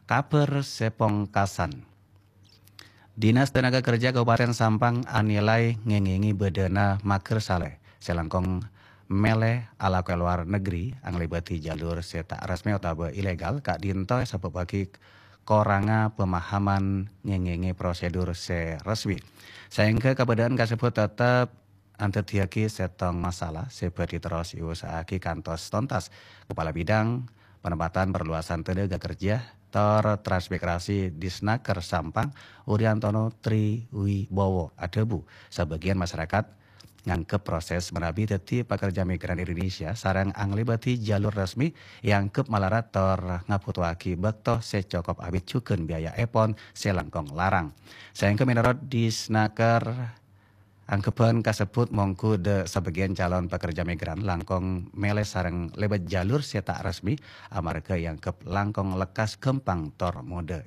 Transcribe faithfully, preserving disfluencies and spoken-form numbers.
Kabhâr sè pongkasan. Dinas Tenaga Kerja Kabupaten Sampang anilai ngèngèngè bâdâna mager salè sè langkong mèlè alako è lowar negri, anglèbâdhi jalur sè ta' resmi otabâ ilegal, ka'dinto èsabâbbhâghi korangnga pemahaman ngèngèngè prosedur sè resmi. Saèngghâ kabâdâ'ân kasebbhut teptep andhâddhiyâghi sèttong masalah sè bhâdhi terros èusaha'aghi kantos tontas. Kepala Bidang Penempatan Perluasan Tenaga Kerja tor Transmigrasi Disnaker Sampang, Uriantono Triwibowo, adhâbu, sabâgiyân masarakat nganggep proses manabi dhâddhi pakerja migran Indonesia sareng anglèbâdhi jalur resmi èanggep malarat tor ngabhutoaghi bâkto sè cokop abit jhughân biayaèpon sè langkong larang. Saèngghâ mènorot Disnaker, angghebbhân kasebbhut mongghu dâ' sabâgiyân calon pakerja migran langkong mèlè sareng lèbât jalur sè ta' resmi, amarghâ èanggep langkong lekkas ghâmpang tor modâ.